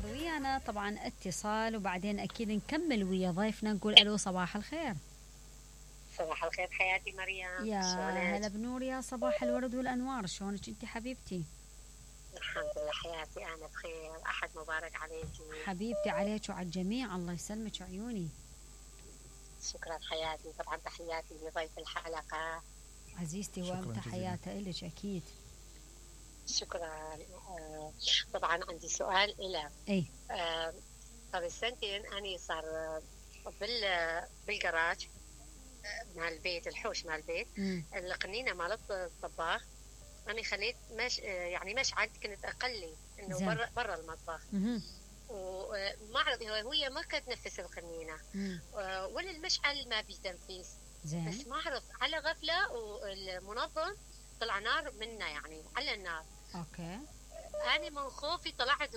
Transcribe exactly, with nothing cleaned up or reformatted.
ناخذ ويانا طبعا اتصال وبعدين اكيد نكمل ويا ضيفنا نقول الو صباح الخير. صباح الخير حياتي مريم، يا شلونك؟ هلا بنور، يا صباح الورد والانوار، شلونك انت حبيبتي؟ الحمد لله حياتي انا بخير، احد مبارك عليكي. حبيبتي عليك وعلى الجميع، الله يسلمك عيوني. شكرا حياتي، طبعا تحياتي لضيف الحلقة عزيزتي وتحياتي لك اكيد. شكرا. آه طبعا عندي سؤال إلك. اي آه قبل سنتين أنا صار بال بالجراج مال البيت، الحوش مال البيت، القنينة مالت الطباخ أنا خليت مش يعني مشعل كنت أقلي إنه برا برا المطبخ، وما أعرف هي ما كانت تنفس القنينة ولا المشعل ما بيتنفس، بس ما أعرف على غفلة والمنظم طلع نار منه يعني على النار. اوكي. أنا من خوفي طلعت